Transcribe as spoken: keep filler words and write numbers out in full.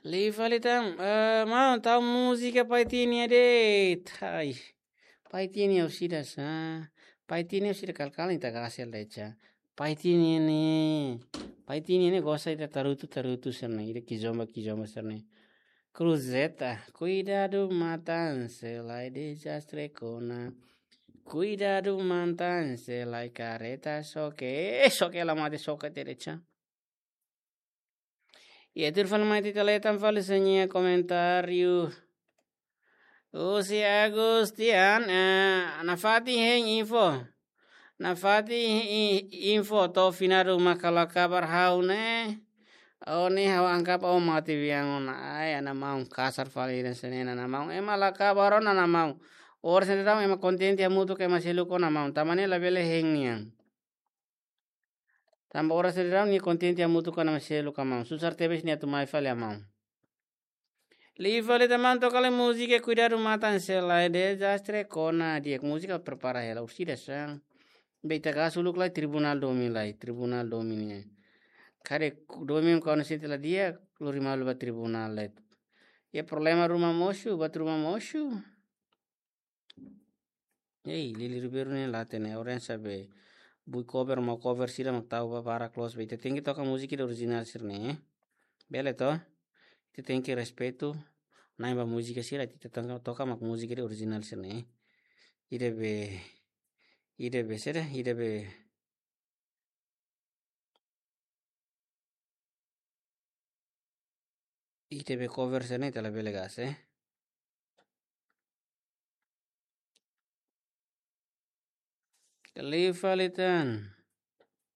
Liu fali tan, eh, maun, tau múzika Pai Tini de'it. Ai. Pai Tini orsida sa. Pai Tini orsida kal-kal ita gasi de'it sa. Pai Tini ne'e. Pai Tini ne'e gosta ita tarutu, tarutu sira-ne'e. Ida kizomba, kizomba sira-ne'e. Cruzeta, kuidadu matan, se lai dezastre kona. Kuidadu matan, se lai kareta xoke. Eh, xoke la mate, xoke de'it sa. Iha tuir fali mai ita leten fali sira-nia komentáriu. Husi Agustian, eh, nafatin hein info. Nafatin i-, info to'o finadu mak la kabar ha'u ne'e. Ó ne'e ha'u angkap ó mate biang ona. Ai, ana maun kasar fali de'it sira-ne'e, ana maun. Ema la kabar ona, ana maun. Oras ne'e daudaun ema kontente hamutuk ho ema seluk ona, maun. Tanba ne'e labele hein nian. Tanba oras ne'e daudaun nia kontente hamutuk ho ema seluk, maun. Susar tebes nia atu mai fali, maun. Liu fali tan, maun, toka lai múzika kuidadu matan, se lai dezastre kona. Di'ak, múzika prepara hela, orsida sa. Be ita gasi uluk lai tribunál domin lai, tribunál domin ne'e. Karik domin kona sente la di'ak, lori malu ba tribunál lai. Iha problema ruma mosu, buat ruma mosu. Ei, Lili Ribeiro ne'e la hatene, oren sabe. Bui cover, mau cover sira mak tau ba barak loos, be ita tenke toka múzika ida orijinál sira-ne'e. Bele to? Ita tenke respeitu. Na'in ba múzika sira, ita toka, toka mak múzika ida orijinál sira-ne'e. Ida be, ida be sira, ida be Ita be cover sira-ne'e ita labele gasi, eh. Liu fali tan.